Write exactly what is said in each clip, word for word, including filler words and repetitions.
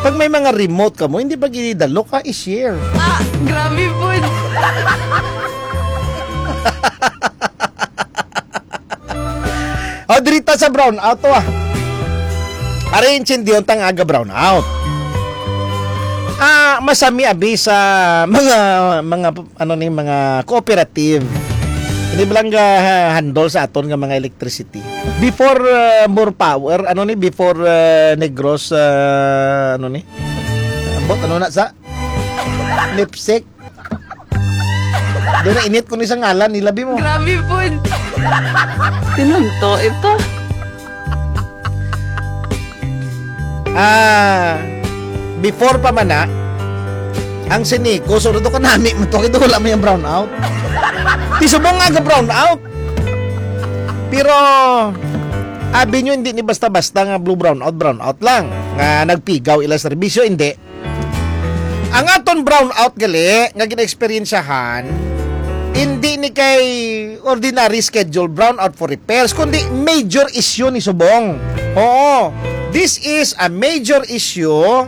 Pag may mga remote kamo, hindi ba gidalo ka i-share? Ah, grabe po. O, diri ta sa brownout to, ah. Ari, intindiyon ta nga aga brownout. Ah, masami abi sa mga, mga, ano ni, mga cooperative. Hindi ba lang ga-, handle sa aton nga mga electricity? Before, ah, More Power, ano ni, before, ah, Negros, ah, ano ni? Ambot, ano na sa? Lipstick. Doon na init ko ni sa ngalan, nilabi mo. Grabe po. Pinunto ito. Ah, before pa man na, ang Sinico, so, ito kanami mo to, ito wala may brownout. Ti subong nga ga-brownout. Pero, abi nyo, hindi ni basta-basta nga blue brownout, brownout lang. Nga nagpigaw ila serbisyo, hindi. Ang aton brownout gali nga gina-eksperyensyahan, hindi ni kay ordinary schedule brownout for repairs, kundi major issue ni subong. Oo, this is a major issue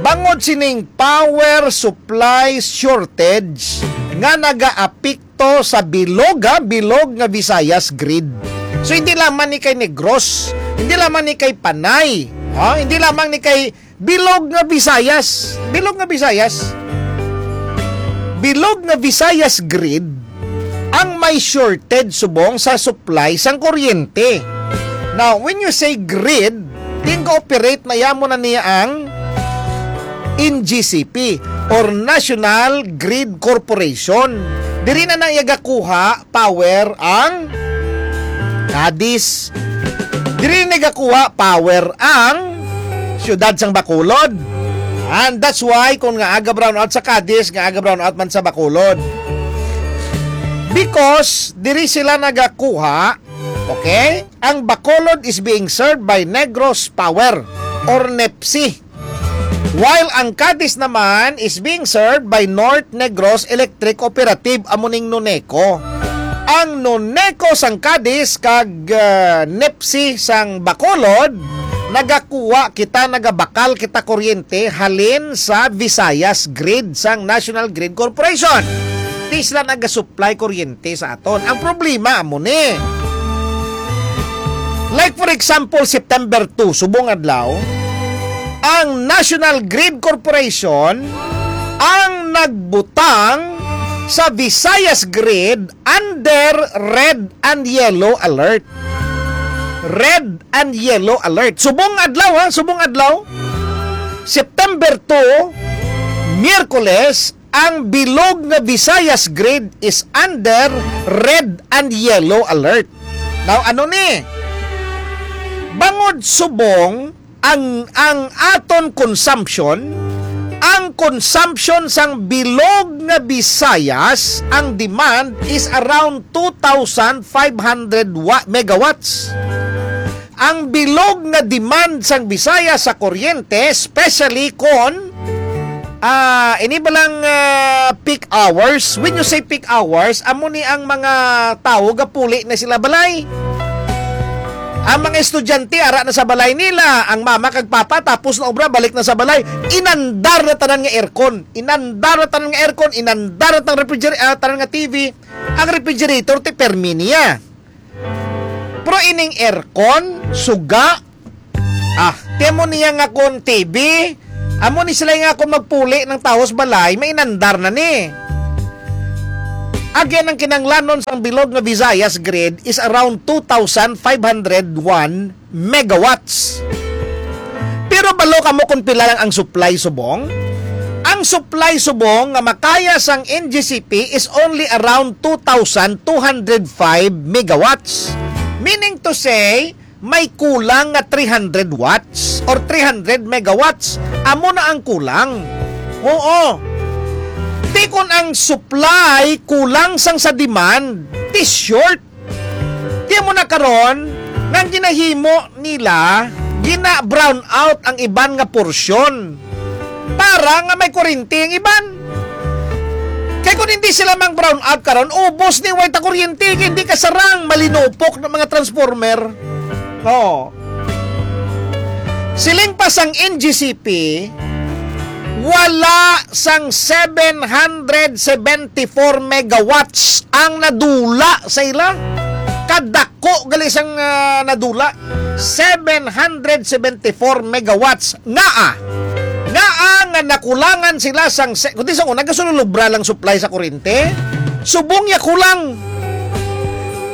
bangod sining power supply shortage nga nagaapekto sa bilog, ha, bilog nga Visayas grid. So, hindi lamang ni kay Negros, hindi lamang ni kay Panay, ha, hindi lamang ni kay bilog nga Visayas. Bilog nga Visayas. Bilog nga Visayas grid ang may shortage subong sa supply sang kuryente. Now, when you say grid, ting-operate na yamo na niya ang N G C P or National Grid Corporation. Diri na na iya gakuha power ang Cadiz. Diri nagakuha power ang siyudad sang Bacolod. And that's why kung nga aga brownout sa Cadiz, nga aga brownout man sa Bacolod. Because diri sila nagakuha, okay? Ang Bacolod is being served by Negros Power or nepsi. While ang Cadiz naman is being served by North Negros Electric Cooperative, amo ning Noneco. Ang Noneco sang Cadiz kag, ah, nepsi sang Bacolod, nagakuha kita, nagabakal kita kuryente halin sa Visayas Grid sang National Grid Corporation. Ti sila nagasupply kuryente sa aton. Ang problema amo ni, like, for example, September two, subong adlaw, ang National Grid Corporation ang nagbutang sa Visayas Grid under red and yellow alert. Red and yellow alert. Subong adlaw, ha? Subong adlaw. September two, Miyerkules, ang bilog nga Visayas grid is under red and yellow alert. Now, ano ni? Bangod subong ang, ang aton consumption, ang consumption sang bilog nga Visayas, ang demand is around two thousand five hundred wa-, megawatts. Ang bilog nga demand sang Visayas sa kuryente, especially kon, ah, ini ba lang, ah, peak hours? When you say peak hours, amo ni ang mga tawo gapuli na sila balay. Ang mga estudyante ara na sa balay nila, ang mama kag papa tapos na obra, balik na sa balay. Inandar na tanan nga aircon, inandar na tanan nga aircon, inandar na tang refrigerator, ah, tanan nga T V. Ang refrigerator ti permi niya. Pero ining aircon, suga. Ah, ti amo niya nga kon T V, amo ni sila nga kon magpuli ng tawo sa balay, mainandar na ni. Again, ang kinanglanon sang bilog nga Visayas grid is around two thousand five hundred one megawatts. Pero balo kamo kung pila lang ang supply subong? Ang supply subong nga makaya sang N G C P is only around two thousand two hundred five megawatts. Meaning to say, may kulang nga three hundred watts or three hundred megawatts. Amo na ang kulang. Oo. Ti kon ang supply kulang sang sa demand, ti short. Ti amo na karon nga ang ginahimo nila, gina-brown out ang iban nga porsyon para nga may kuryente ang iban. Kay kung hindi sila mang brown out karon, ubos ni, way ta kuryente, kay hindi kasarang, malinupok ng mga transformer. Oo. Siling pa sang N G C P, wala sang seven hundred seventy-four megawatts ang nadula sa ila. Kadako gali sang, ah, nadula. Seven hundred seventy-four megawatts. Ngaa? Ngaa nga nakulangan sila sang se-, kundi sa una, gasululubra lang supply sa kuryente. Subong ya kulang.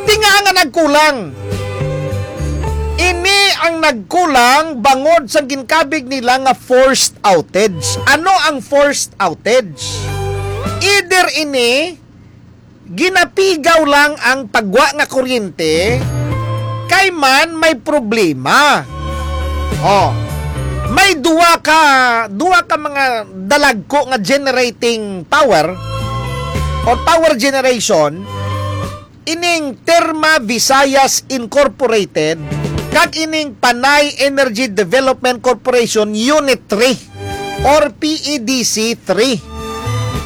Di nga nga nagkulang. Ini ang nagkulang bangod sa ginkabig nila nga forced outage. Ano ang forced outage? Either ini, ginapigaw lang ang pagwa nga kuryente, kay man may problema. Oh, may duwa ka, duwa ka mga dalagko nga generating power or power generation, ining Terma Visayas Incorporated kag ining Panay Energy Development Corporation Unit three or P E D C three.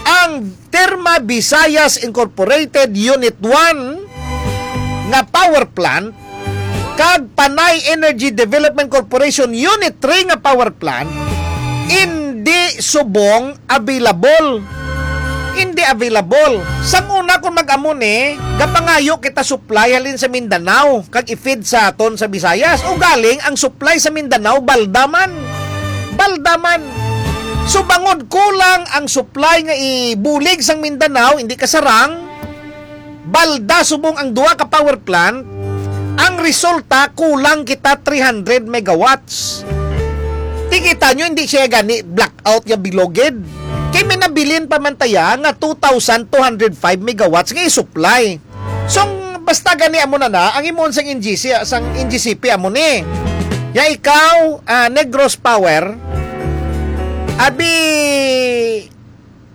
Ang Terma Visayas Incorporated Unit one nga power plant kag Panay Energy Development Corporation Unit three nga power plant indi subong available. Hindi available. Sang una, kung mag-amo ni, gapangayo kita supply halin sa Mindanao, kag i-feed sa aton sa Visayas. O galing, ang supply sa Mindanao, balda man. Balda man. So, bangod kulang ang supply nga ibulig sang Mindanao, hindi kasarang, balda subong ang duha ka power plant, ang resulta, kulang kita three hundred megawatts. Ti kita nyo, hindi siya gani blackout nga bilogid. Kay may nabilin pa man taya nga two thousand two hundred five megawatts nga i-supply. So, ang basta gani amo na na, ang himuon sang N G C, sang N G C P amo ni. Ya ikaw, ah, Negros Power, abi,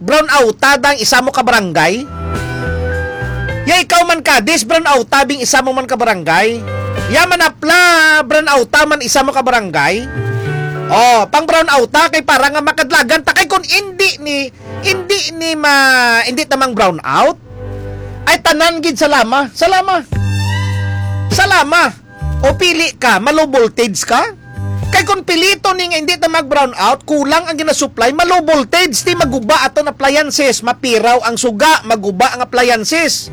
brown outa dang isa mo ka barangay. Ya ikaw man, Cadiz, brown outa bing isa mo man ka barangay. Ya Manapla, brown outa man isa mo ka barangay. Oh, pang brown outa kay para nga makadlagan ta kay kung indi ni, indi ni ma, indi tamang brown out. Ay tanan gid salama, salama. Salama. O pili ka, ma-low voltage ka? Kay kung pilito ni nga hindi ta mag-brown out, kulang ang ginasupply, ma-low voltage, ti maguba aton appliances, mapiraw ang suga, maguba ang appliances.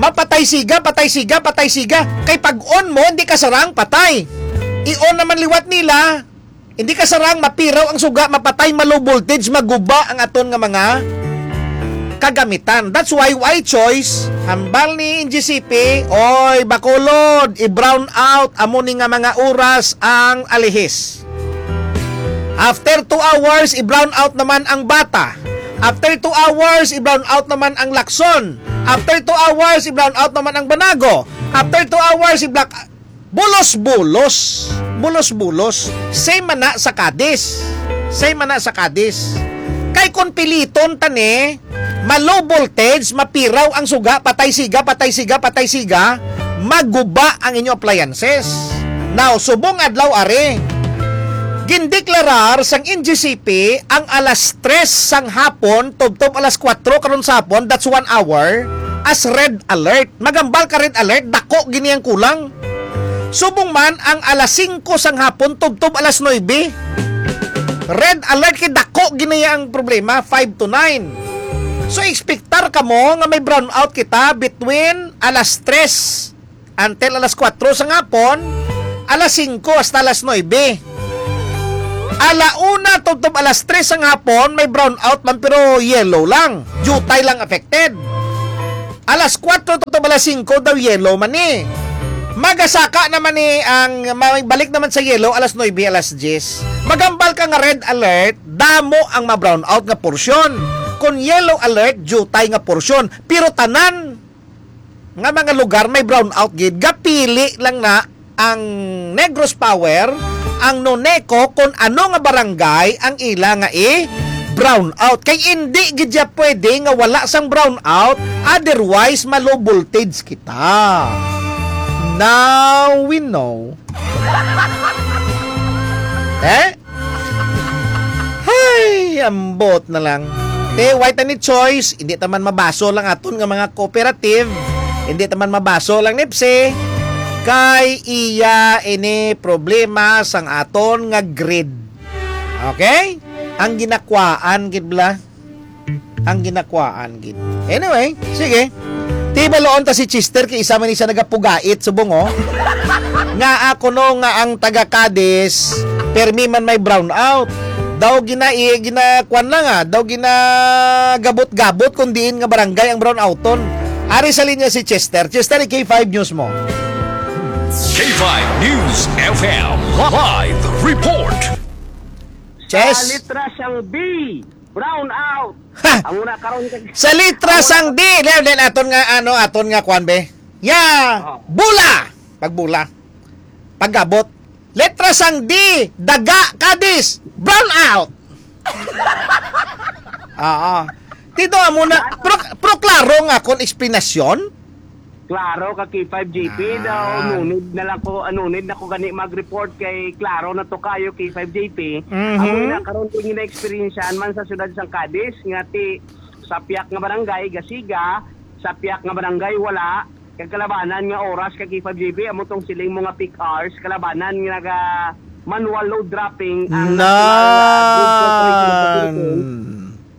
Mapatay siga, patay siga, patay siga. Kay pag on mo, hindi ka sarang, patay. I-on naman liwat nila. Hindi ka sarang, mapiraw ang suga, mapatay, ma-low voltage, maguba ang aton nga mga kagamitan. That's why, why choice, hambal ni N G C P, oy, Bacolod, i-brown out, amo ni nga mga oras ang Alihis. After two hours, i-brown out naman ang Bata. After two hours, i-brown out naman ang Lacson. After two hours, i-brown out naman ang Banago. After two hours, i-black, bulos-bulos. Bulos-bulos. Same man na sa Cadiz. Same man na sa Cadiz. Kay kung piliton ta ni, ma-low voltage, mapiraw ang suga, patay siga, patay siga, patay siga, maguba ang inyo appliances. Now, subong adlaw ari, gindeklarar sang N G C P ang alas tres sang hapon, tubtob alas kuwatro karon sa hapon, that's one hour, as red alert. Magambal ka red alert, dako gini ang kulang. Subong man ang alas singko sang hapon tubtob alas nuebe. Red alert kay dako gini ang problema, five to nine. So, expectar kamo nga may brownout kita between alas tres until alas kuwatro sang hapon, alas singko hasta alas nuebe. Ala una tubtob alas tres sang hapon, may brownout man pero yellow lang. Diutay lang affected. Alas kuwatro to, to alas singko daw yellow man ni. Magasaka naman ni ang, ma-, balik naman sa yellow alas nuebe, alas diyes. Magambal ka nga red alert, damo ang ma-brownout nga porsyon. Kung yellow alert, diutay nga porsyon. Pero tanan nga mga lugar may brownout gid, gapili lang na ang Negros Power, ang Noneco, kung ano nga barangay ang ila nga i-brown out. Kay indi gid siya pwede nga wala sang brown out, otherwise ma-low voltage kita. Now we know. Eh? Hay, ambot na lang. Te, why ta ni choice? Hindi ta man mabaso lang aton nga mga cooperative. Hindi ta man mabaso lang nipsi. kay iya ini problema sang aton nga grid. Okay? Ang ginakwaan gid bala. Ang ginakwaan gid. Anyway, sige. Tibaloon ta si Chester kay isa man ni siya nagapugait subong, oh. Nga ako no nga ang taga Cadiz, permi man may brown out. Daw gina-, i-, ginakuan lang, ah. Daw ginagabot-gabot kung diin nga barangay ang brown outon. Ari sa linya si Chester. Chester, i-K five News mo. K five News F M live report. Sa Chess. Litra sang B, brown out. Ha! Ang una karon kag Sa litra Ang una sang D, le, le, aton nga, ano, aton nga kwan, be? Ya, Oh. Bula. Pagbula. Pagabot. Letra sang D, Daga, Cadiz, brown out. Oo. Tito, amo na, pro, pro klaro nga akon eksplanasyon. Klaro ka, K five J P, daw, Nan. Nunid na lang ko, ah, nunid na ko gani mag-report kay klaro na to kayo, K five J P. Mhm. Amo na karon ko gina-experience-an man sa siyudad sang Cadiz, nga ti sa piyak nga barangay, gasiga, sa piyak nga barangay, wala. Kag kalabanan nga oras ka, K five J P, amo tong siling mo nga peak hours, kalabanan nga naga manual load dropping ang Nan. National, ah, Grid Corporation of the Philippines.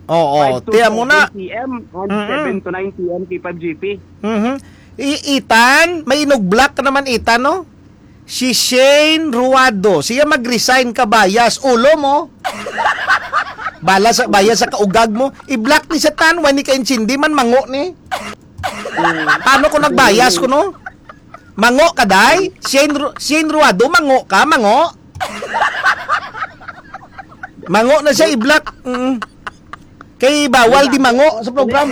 Oo, Five to tiyan mo na. seven P M and Mm-mm. seven to nine P M, K five J P. Mhm. I-, Itan, may inugblock ka naman, Itan, no? Si Shane Ruado, siya mag-resign ka, bayas. Ulo mo. Bala sa, bayas sa kaugag mo. I-block ni Satan, wani ka intindi man, mango ni. Paano ko nagbayas ko, no? Mango ka, day? Shane Ru-, Shane Ruado, mango ka, mango? Mango na siya, i-block. Mm. Kay bawal di mango sa program.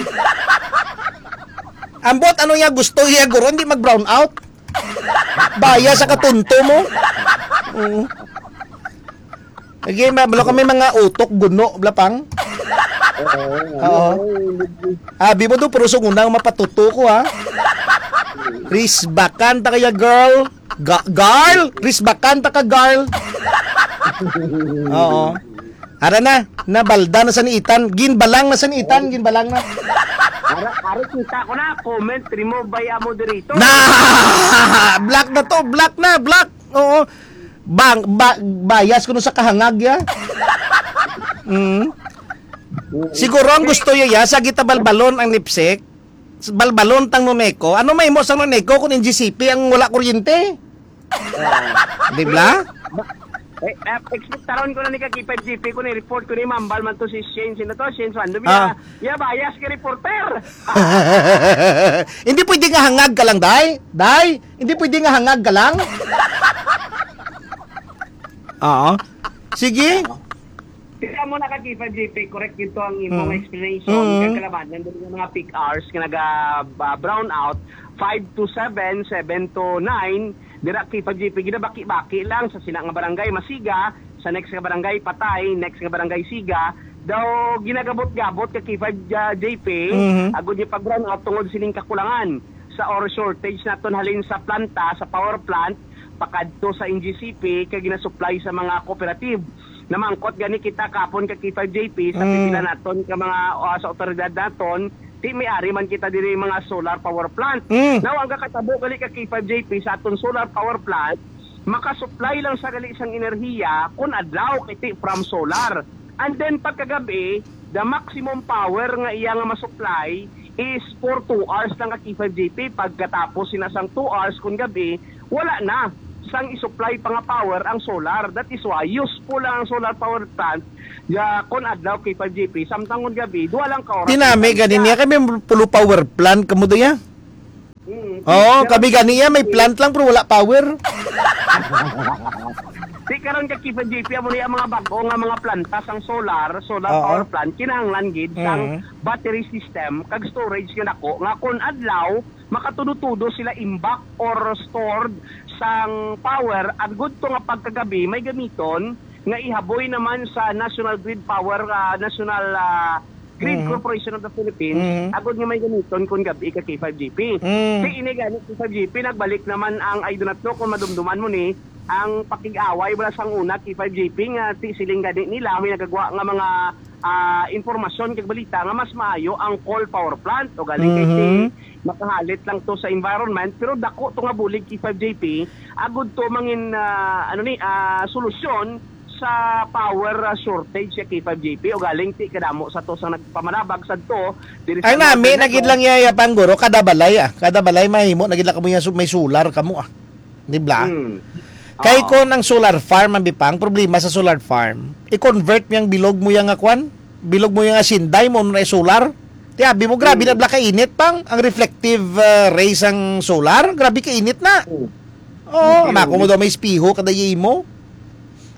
Ambot, ano niya gusto niya, guro? Hindi mag-brown out. Baya sa katunto mo. Mm. Lagi, ma-, balo kami mga utok, guno, blapang. Oo. Oo. Abi mo do, pero sungunang mapatuto ko, ha? Risbakan ta kaya, girl. Ga-, girl? Risbakan ta ka, girl. Oo. Ara na, nabalda na sa ni Itan. Ginbalang na sa ni Itan, ginbalang na. Ara, ara, kita ko na, comment remove by a moderator. Na! Black na to, black na, black. Oo. Bang, ba, bias kuno sa kahangag ya. Mm. Siguro ang gusto ya, ya, sa gitabalbalon ang NEPSEC, balbalon tang Noneco. Ano may mo sa Noneco kung N G C P ang wala kuryente? Di ba? Eh, eh, expectaron ko na ni ka K five G P ko ni report ko ni mambal man to si Shane. Sino to? Shane Suando. Ah. Ya, ya, bias ka reporter. Hindi pwede nga hangag ka lang, day. Day, hindi pwede nga hangag ka lang. Oo. Sige. Kaya mo na ka K five G P, correct ito ang imong Mm. explanation. Mm. Kaya kalabanan din yung mga peak hours nga naga, ah, brown out, five to seven, seven to nine, dira K five G P, ginabaki-baki lang sa sina nga barangay, masiga, sa next nga barangay, patay, next nga barangay, siga, daw ginagabot-gabot ka K five J P, Mhm. agud niya pag-brown out tungod sining kakulangan sa or shortage naton halin sa planta, sa power plant, pakadto sa N G C P, kay ginasupply sa mga cooperative. Namangkot gani kita kapon ka K five J P sa Mm. pipila naton ka mga, ah, sa otoridad naton, ti may ari man kita diri mga solar power plant. Mm. Now, ang kakatabo gali ka K five J P sa aton solar power plant, makasupply lang sa gali sang enerhiya kun adlaw kay ti from solar. And then pagkagabi, the maximum power nga iya nga masupply is for two hours lang ka K five J P. Pagkatapos sina sang two hours kun gabi, wala na sang isupply pa nga power ang solar. That is why useful lang ang solar power plant ya kon adlaw K five J P, samtang kon gabi, duha lang ka oras Tinami ang gani niya kami pulo power plant kamo diya. Mm, Oo, pero kami gani ya may plant lang pero wala power. Di karon ka K five J P, amo ni ang mga bag-o nga mga planta sang solar, solar Oo. power plant, kinahanglan gid sang Mm. battery system kag storage nga dako nga kon adlaw makatudo-tudo sila imbak or stored sang power, agud to nga pagkagabi may gamiton nga ihaboy naman sa National Grid Power, ah, National, ah, Grid Mhm. Corporation of the Philippines, Mhm. agud nga may gamiton kun gabi ka K five G P. Mm. Ti ini gani K five G P, nagbalik naman ang, I do not know kung madumduman mo ni, ang pakig-away wala sang una K five G P nga ti siling gani nila may nagagwa nga mga, ah, impormasyon kag balita nga mas maayo ang coal power plant o galing kay si Mhm. makahalit lang to sa environment, pero dako to nga bulig, K five J P, agud to mangin, ah, ano ni, ah, solusyon sa power, ah, shortage sa K five J P. O galing ti kadamo sa to sa nagpamanabag sa to diri sa Ang nami Northern na gid Luzon. Lang iya, iya pang guro, kada balay, ah. Kada balay mahimo na gid lang kamo iya su-, may solar kamo, ah. Di ba? Hmm. Kay Oo. Kon ang solar farm, ang bipang problema sa solar farm, i-convert mo yung bilog mo yung nga kwan, bilog mo yung asinday mo na solar. Ti abi mo, grabe Hmm. na bala ka init pang ang reflective, ah, rays ang solar, grabe ka init na. Hmm. Oo, Hmm. Mako mo daw may espiho kada imo.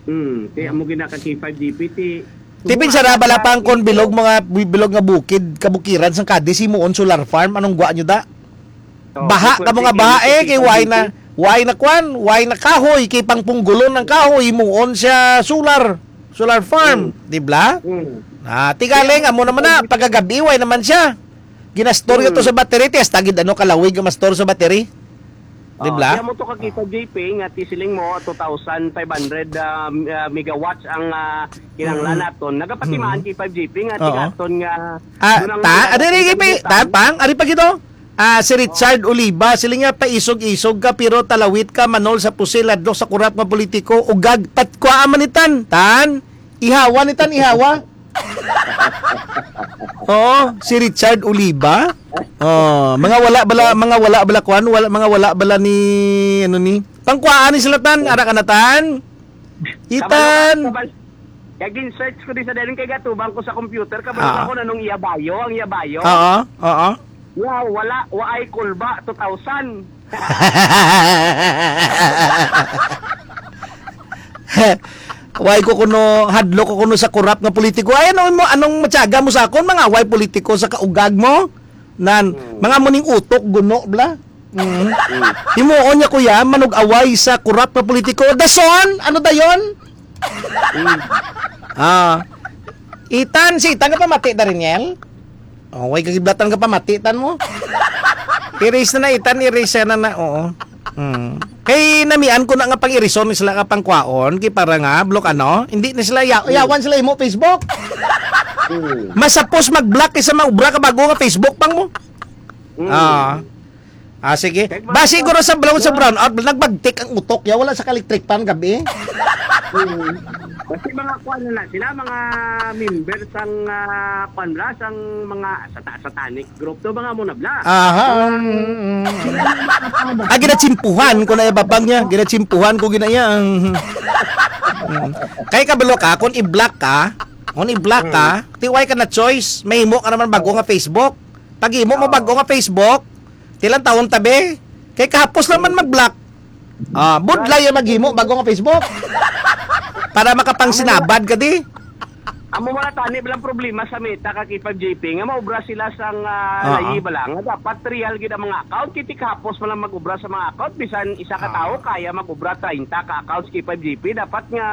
Hmm. Ti amo gina ka K five G P, ti Ti pinsara bala pang kon bilog mga bi-, bilog nga bukid, kabukiran sang Cadiz, himuon solar farm, anong gwa nyo da? Oh, Baha ka mo nga baha eh, kay why na, why na kwan, why na kahoy, kay pangpunggulon ng kahoy, himuon siya solar, solar farm, Mm. di bla? Mm. Ah, tigaling, amo naman na, pagkagabi, why naman siya? Ginastorya to Mm. sa battery, ti hasta gid ano kalawig ang mastor sa battery. Di Oh, bla? Kaya mo to kakita, J P, nga ti siling mo, two thousand five hundred, ah, ah, megawatts ang, ah, kinahanglan Mm. naton. Nagapatimaan Mm. kay five J P nga Oo. Tigaton nga Ah, doon ang ta, mga ari, ari, ari, nagkalimutan. Ta, pang, ari pa gito. Ah, si Richard Oliva, sila nga paisog-isog ka, pero talawit ka, manol sa pusil, hadlok sa kurap nga politiko, ugag, pat, kuha man ni tan, tan, ihawa ni tan, ihawa. Oo, si Richard Oliva. Oh, mga wala bala, mga wala bala kuan, wala, mga wala bala ni, ano ni, pangkuhaan ni sila tan, ara ka na tan. Itan. Kabalo ka, kabal-, kaya gin-search ko di sa daling kay gatubang ko sa computer, kabalo Ah. Ako na nung iya bayo, ang iya bayo. Oo, oo. Wow, wala, waay kulba, two thousand. Way ko kuno, hadlok ko kuno sa korap nga politiko. Ay, ano mo, anong matyaga mo sa akon? Mga way politiko sa kaugag mo? Nan, Hmm. Mga muning utok, guno, bla? Mm. Hmm. Himuon niya, kuya, manug-away sa korap nga politiko. Dason, ano dayon? Hmm. Ah. Itan, si Itan nga pamati, Dariel? Oh, way kagiblatan ka pa, matitan mo. Erase na na, itan, erase na na, oo. Hmm. Kay namian ko na nga pang-erison sila nga pangkwaon, kay para nga, block ano, hindi na sila, ya-, Hmm. yawan sila imo Facebook. Hmm. Masapos mag-block kaysa maubra ka bago nga Facebook pang mo. Hmm. Ah. Ah, sige. Kag mga Basi kwan, siguro sa brown, sa mga brown out, nagbagtik ang utok ya, wala sa electric fan gabi. Hmm. Kasi mga kwan na sila, mga member sang, ah, kwan bla, sang mga sata-, satanic group to, mga mo na bla. Aha. Mga mm, mm. Ah, ginatsimpuhan ko na ibabang niya. Ginatsimpuhan ko gina iya. Mm. Kay kabalo ka, kung i-block ka, kung i-block ka, Mm. ti way ka na choice, mahimo ka naman bago nga Facebook. Pag imo mo Oo. bago nga Facebook, tilang taon tabi. Kay kahapos naman mag-block. Ah, budlay ang maghimo bago nga Facebook. Para makapangsinabad ka di. Amo wala tani bilang problema sa Meta ka K five J P nga maubra sila sang, ah, Oo. layi ba lang. Nga dapat real gid ang mga account. Kiti kahapos pa lang mag-ubra sa mga account. Bisan isa ka Oo. tawo kaya mag-ubra treinta ka accounts K five J P. Dapat nga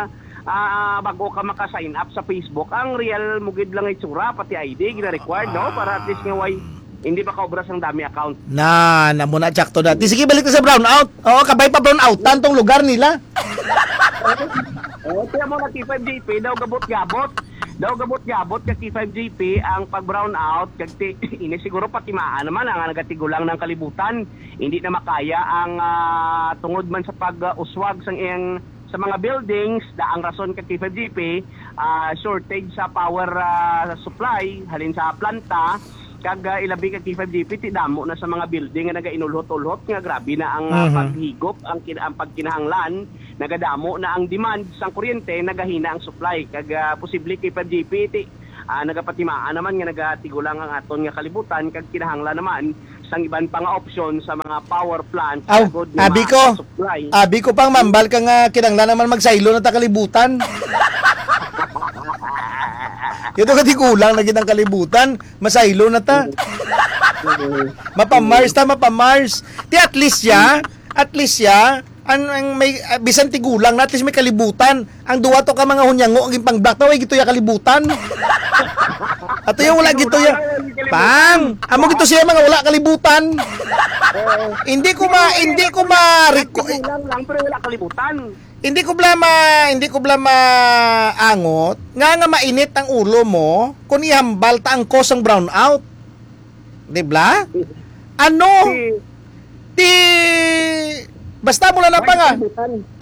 ah, bago ka maka-sign up sa Facebook, ang real mo gid lang itsura, pati I D, gina-required, no? Para at least nga way, hindi makaobra sang dami account. Na, na mo na, tsakto na. Di, sige, balik na sa brownout. Oo, kabay pa brownout, tantong lugar nila. Oo, kaya mo na K five J P, daw gabot-gabot. Daw gabot-gabot ka K five J P ang pag-brownout, kag ti-, ini siguro patimaan naman ang nagatigulang ng kalibutan. Hindi na makaya ang, ah, tungod man sa pag-uswag sang iyang sa mga buildings, da ang rason ka K five G P, ah, shortage sa power, ah, supply halin sa planta, kag, ah, ilabi ka K five G P, ti damo na sa mga building nga nagainulhot-ulhot nga grabe na ang, ah, Mhm. paghigop, ang kin-, ang pagkinahanglan, nagadamo na ang demand sang kuryente, nagahina ang supply, kag, ah, posible K five G P, ti, ah, nagapatimaan naman nga nagatigulang ang aton nga kalibutan, kag kinahanglan naman sang iban pa nga opsyon sa mga power plants Aw, agud nga abi ko, ma-supply. Abi ko pang mambal ka nga kinanglan naman magsaylo na ta kalibutan. Ito ka di kulang na gid ang kalibutan, masaylo na ta. Mapa-Mars ta, mapa-Mars. Ti at least ya, at least ya, ang, ang may, ah, bisan tigulang na, at least may kalibutan. Ang duwa to ka mga hunyango, ang pang-block na, way gituya kalibutan. Ato yung wala gituya. Pang, amo gito siya mga wala kalibutan. Oo. Hindi ko ma-, hindi ko ma-, Kulang lang, pero wala kalibutan. Hindi ko bla ma-, hindi ko bla maangot nga, nga mainit ang ulo mo kung ihambal ta ang cause ang brownout. Di bla? Ano? Si Ti, basta mo lang na pa nga.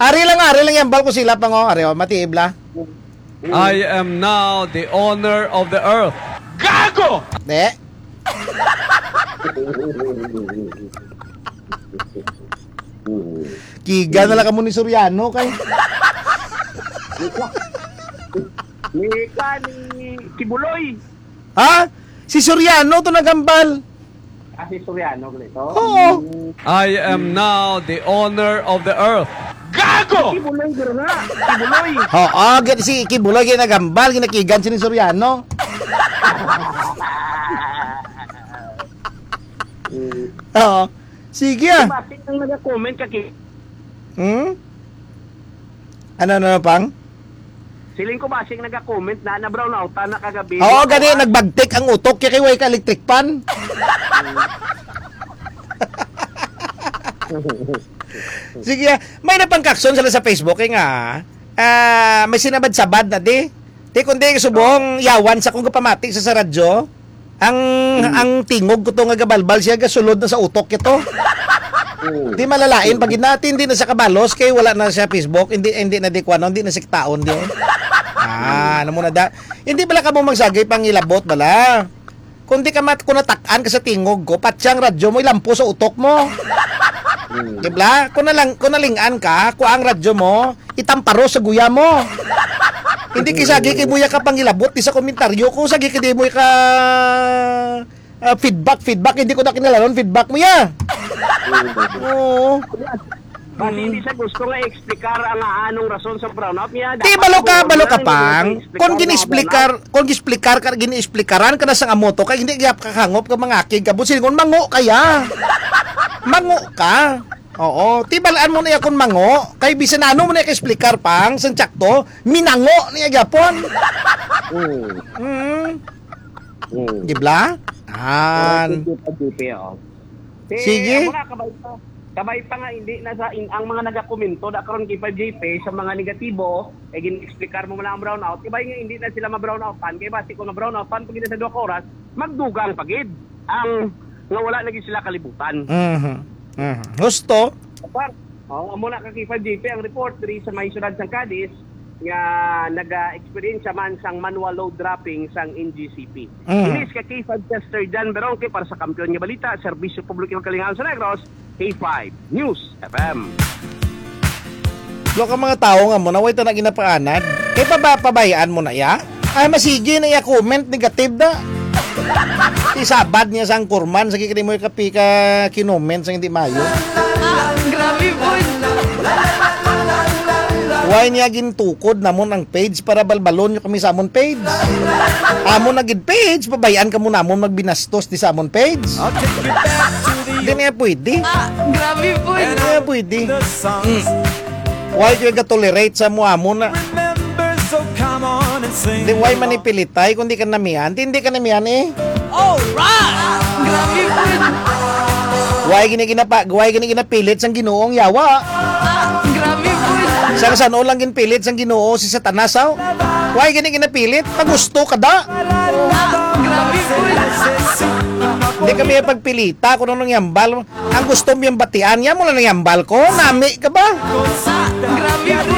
Ari lang, ari lang yan. Bal ko sila pa nga. Ari, oh, matiib la. I am now the owner of the earth. Gago! De. Kiga na lang kamo ni Soriano kay. Ni ka ni Kibuloy. Ha? Si Soriano to nagambal. Ah, si Soriano, ganito? Oo. Mm. I am now the owner of the earth. Gago! Kibuloy, guro na. Kibuloy. Oo, gid si Kibuloy, ginagambal, ginakigan si ni Soriano. Mm. Oo. Sige, ah. Basi ang nag-comment ka, Ki- Hmm? Ano, ano, ano, pang? Siling ko, basing naga-comment na, na-brownoutan na kagabi. Oo, gani, nagbagtik ang utok, kaya kay way ka electric fan. Sige, ah. May napangkakson sila sa Facebook, eh, nga, ah, may sinabad-sabad na di. Di kundi subong yawan sa kung kapamati sa, sa radyo, ang, Mm. ang tingog ko to nga gabalbal siya, gasulod na sa utok ito. Mm. Di malalain pag natin, hindi na siya kabalos, kay wala na siya Facebook, hindi, hindi na di kuwano, hindi na siktaon di. Ah, ano mo na da? Hindi bala ka mo magsagay pangilabot bala. Kung di ka mat-, kung natakan ka sa tingog ko, patsang radyo mo, ilampo sa utok mo. Mm. Di bala? Kung nalang-, kung nalingan ka, kung ang radyo mo, itamparo sa guya mo. Hindi kay sagi kay muya ka pangilabot di sa komentaryo ko, sagi kay di mo ka, ah, feedback, feedback, hindi ko na kinalanon feedback mo ya. Oo. Basi Mm. hindi siya gusto nga i-explicar ang anong rason sa brownout niya. Di, dapat balo ka, mo balo ka lang, hindi mo pang. Kung explicar nga gini-explicar, kung gini-explicar ka, gini-explikaran ka na sa amo to, kay hindi gyap kakangop ka mga akig ka, busin, kung mango kaya. Mango ka. Oo, tibalaan mo na ya kung mango. Kay bisan ano mo na ka-explicar pang, sang tsakto, minango niya gyapon. Mm. Mm. Mm. Di bala? An. Oo, sige, pag-, sige, oh. Eh, sige. Ang mga kabay pa, kabay pa nga, hindi na sa in-, ang mga nagakomento, da karon kay five G P, sa mga negatibo, eh, gin-explicar mo lang ang brownout. Kabay nga, hindi na sila ma-brownoutan. Kay basi kung ma-brownoutan, pag hindi sa duha ka oras, magdugang pa gid ang nga wala lagi sila kalibutan. Mhm. Mhm. Husto. Par-, oh, amo na ka K five G P ang report diri sa may siyudad sang Cadiz nga naga-eksperyensya man sang manual load dropping sang N G C P. Mhm. Inis ka K five Chester Jan Berongke para sa Kampiyon nga Balita, Serbisyo Publiko ug Kalingawan sa Negros, K five News F M. Lo ka mga tawo nga mo na way ta na ginapaanad. Kay paba-, pabayaan mo na ya? Ay, masigi na iya comment, negative da. Isabad niya sang kurman, sa kikri mo kapi ka kinoment sa hindi mayo. Ah, grabe po. Why niya gintukod namon ang page para balbalon niyo kami sa amon page? Amon na gid page, pabayaan ka mo namon magbinastos di sa amon page. Di niya pwede. Ah, grabe po. Di niya pwede. Mm. Why kayo ga-tolerate sa mo amo na? Remember, so come on and sing Di why along. Manipilitay kung di ka namihan? Di, hindi ka namihan eh. Alright! Grabe po. Why gini ginapa-, why gini ginapilit sang Ginoong yawa? Ah, grabe po. Sang san-o lang ginpilit sang Ginoo si Satanas, aw? Why gini ginapilit? Pagusto ka da? Ah, grabe po. Hindi kami pagpilita kung anong yambal. Ang gusto mo yung batian, yan mo lang yung hambal ko. Nami ka ba? Ah, grabe po.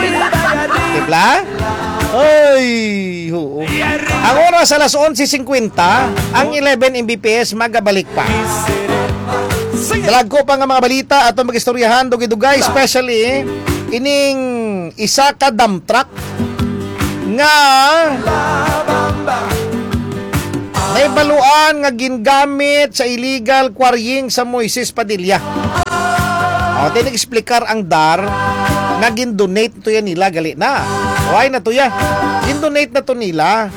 Di ba? Ay, oo. Ang oras alas onse cincuenta, ang eleven M B P S magabalik pa. Dalagko pa nga mga balita ato mag-istoryahan, dugay-dugay, especially ining isa ka dump truck nga nahibaluan nga gingamit sa illegal quarrying sa Moises Padilla. O, di nag-explicar ang dar nga gin-donate to yan nila, gali na. Why na to ya? Gin-donate na to nila.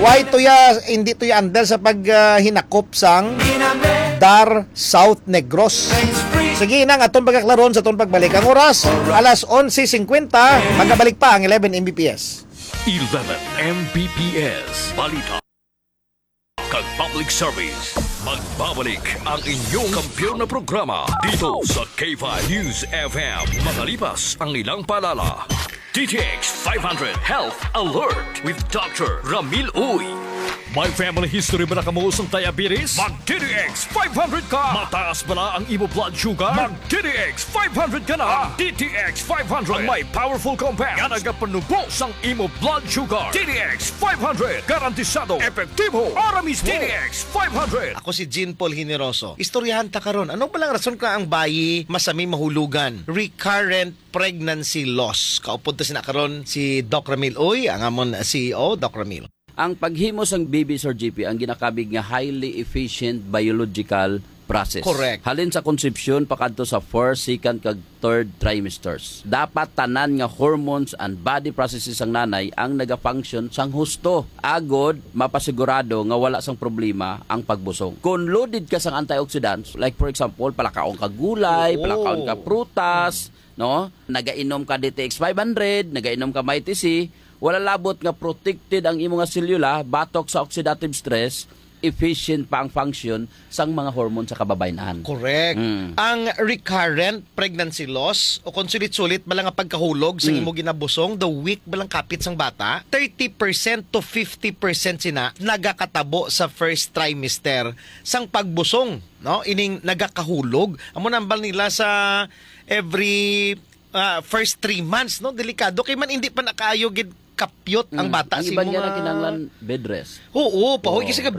Why to ya, hindi to ya under sa pag, ah, hinakop sang dar South Negros. Sige, nang aton pagkaklaron sa aton pagbalik. Ang oras, alas onse cincuenta, magabalik pa ang eleven M B P S. Eleven M B P S Balita kag Public Service. Magbabalik ang inyong kampiyon na programa dito sa K five News F M. Makalipas ang ilang paalala. D T X five hundred Health Alert with Doctor Ramil Uy. May family history ba na kamo sang diabetes? Mag D T X five hundred ka! Mataas ba na ang imo blood sugar? Mag D T X five hundred ka na! Ang D T X five hundred ang may powerful compound nga nagapanubo sang imo blood sugar. D T X five hundred, garantisado, epektibo, para mismo. D T X five hundred. Ako si Jean Paul Generoso. Istoryahan ta karon. Ano ba lang rason ka ang bayi masami mahulugan? Recurrent pregnancy loss. Kaupod ta sina karon si Doc Ramil Uy, ang amon C E O, Doc Ramil. Ang paghimo sang baby, Sir G P, ang ginakabig nga highly efficient biological process. Correct. Halin sa konsepsyon pakadto sa first, second, kag third trimesters. Dapat tanan nga hormones and body processes sang nanay ang nagafunction sang husto, agod mapasigurado nga wala sang problema ang pagbusong. Kung loaded ka sang antioxidants, like for example, palakaon ka gulay, Oo. palakaon ka prutas, no? Nagainom ka D T X five hundred, nagainom ka Mighty C, wala labot nga protected ang imo nga selula batok sa oxidative stress, efficient pa ang function sang mga hormone sa kababayen-an. Correct. Mm. Ang recurrent pregnancy loss o kung sulit-sulit bala nga pagkahulog sa Mm. imo ginabusong the week bala nga kapit sang bata, thirty percent to fifty percent sina nagakatabo sa first trimester sang pagbusong, no? Ining nagakahulog. Amo nambal nila sa every ah, first three months, no? Delikado kay man hindi pa nakaayo gid kapyot ang Mm. bata Ang sa iban imo niya na nga kinahanglan bed rest. Oo, pahoy Oo, kasi ka relax.